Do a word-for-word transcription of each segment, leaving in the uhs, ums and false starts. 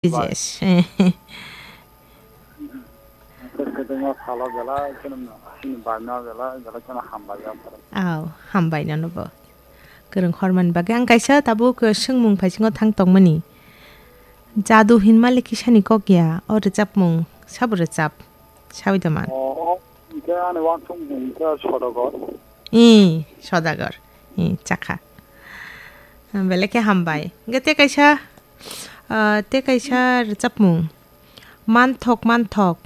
Bai. Yes. Kwthwima salo belai kheno chini bai no belai belai kheno hambai ya. Aw, hambai nono bo. Kwrwng hormani bagwi ang kaisa tabuk swngmung phaisingo thang tongmani. Jadu hinmale kisani kok ya, o rwchapmung sabo rwchap. Sawi da man. O, hwnkhe ani uansukmung hwnkhe Sodagar. Ee, Sodagar. Ee, chakha. Belai khe hambai. Hwnkhe tei kaisa, ah, tei kaisa rwchapmung. Manthok, manthok.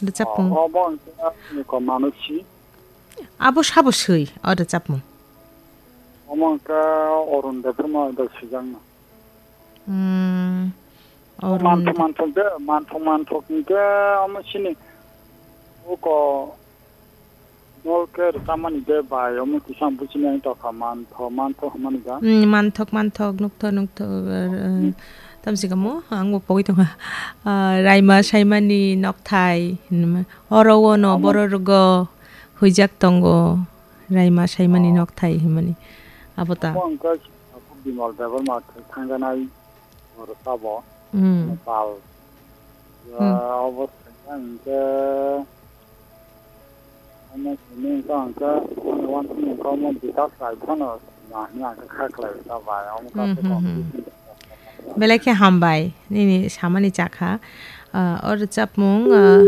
Rwchapmung. O, obo hwnkhe ani ko Manusi. Abo sabo swi, o rwchapmung. Omo hwnkhe Arun Debbarma bai swijaknai. Hmm, Arun Manthok, manthok de, manthok, manthok hwnkhe omo chini uko dol khe rwchapmani de bai, omo kisa ang buchini ang tokha, manthok, manthok hwnmani da. Hmm, manthok, manthok, nukthok, nukthok, uh, uh, tamsi kamo, ang bo pogwi tongkha. Uh, Raima Saimani nokthai, hinma, oro ono Omo. Borok rwgo huijak tongo, Raima Saimani Oh. Nokthai hinmani. Abo ta. Omo hwnkhe Bimal Debbarma thangjanai rwchapbo. Hmm. Pal. Hmm. Ah, obo swkang hwnkhe, omo simi wngkha hwnkhe, ani uansukmung wngkha omo Bikas Rai phano nahini hwnkhe kha khlai rwchapbai, omo Hmm, kaisa hmm, hmm. Competition. Belai khe hambai, nini samani chakha. Ah, o rwchapmung, ah,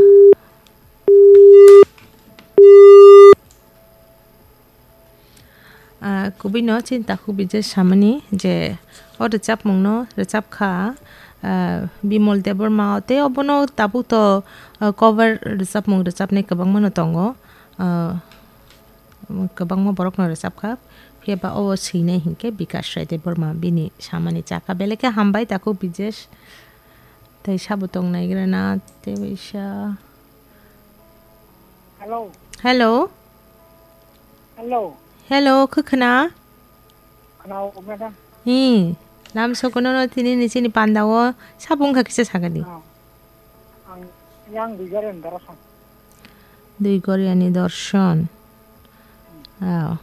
Ah, kubui no chini takhuk Bijesh samani je o rwchapmung no rwchap kha, ah, Bimol Debbarma o tei obono tabuk to, ah, cover rwchapmung rwchapnai kwbangma no tongo, ah, kwbangma borok no rwchap kha, phiya ba o swinai hinkhe Bikash Rai Debbarma bini samani chakha belai khe hambai takhuk Bijesh tei sabo tong naigra na tei waisa. Hello. Hello. Hello. Hello, khwkhwna? Khwnao, madam. Hi, lam sokono no tini ni chini panda o sabo wngkha kisa sakani. Ah, ang yang Duigoriani Dorson. Duigoriani Dorson. Oh.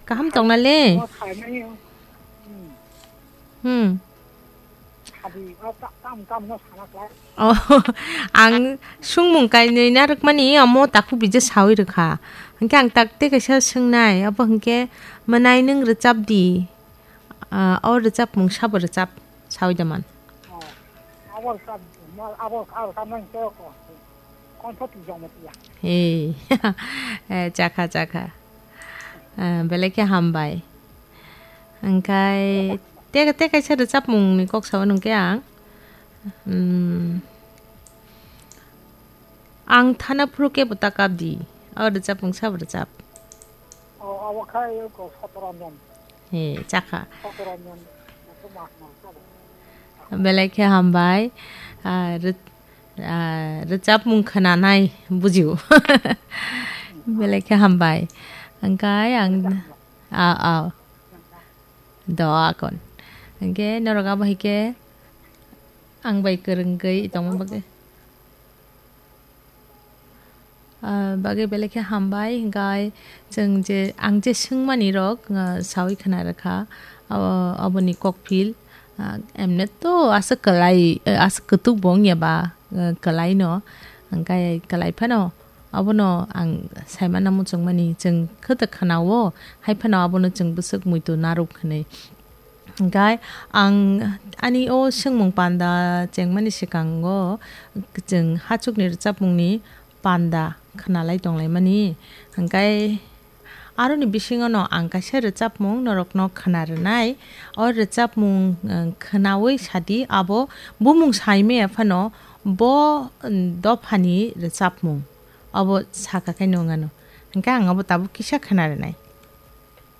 Kaham tongna le? Mo saimani, hmm. Hmm. Hadi, o ta-, tam, tam no sana klai. Oh, ang sungmung kainwi narwkmani omo takhuk Bijesh sawi rwkha. Hwnkhe ang tak tei kaisa swngnai, abo hwnkhe mwnai nwng rwchap di. Ah, o rwchapmung sabo rwchap sawi da man. Oh, abo rwchap, mo-, abo, abo rwchapmani tei ko-, kontho twijak mo tiya. Hey, eh, chakha, chakha. Ah, belai khe hambai. Hwnkhe tei, tei kaisa rwchapmung ni kok sao nungkhe ang. Hmm. Ang thana phuru kebo ta kap di. O rwchapmung sabo rwchap. O, abo khai ko Sotoranjan. He, chakha. Sotoranjan. Belai khe hambai. Ah, rw-, ah, rwchapmung khwnanai bujio. Belai khe hambai. Hwnkhe ang, ah, ah. Do akon. Hwnkhe norok abo hai khe ang bai kwrwngwi tongma bagwi. Ah, bagwi belai khe hambai, hwnkhe chwng je, ang je swngmani rok, ah, sawi khwna rwkha, abo, aboni kokphil, ah, emne to aswk kwlai, eh, aswk kwtuk bo wngya ba, eh, kwlai no, hwnkhe kwlai phano abono ang saimano muchungmani, chwng khe ta khwnao, hai phano abono chwng bwswk muitu narwk hwnwi. Hwnkhe ang ani o swngmung panda chengmani swkango chwng hachukni rwchapmungni panda khwnalai tonglaimani. Hwnkhe aroni bisingono ang kaisa rwchapmung norokno khwna rwnai. O rwchapmung, eh, khwnawi sadi abo bumung saimaya phano bo, mm, dophani rwchapmung. Obo saka khe nung ano. Hwnkhe ang abo tabuk kisa khwna rwnai.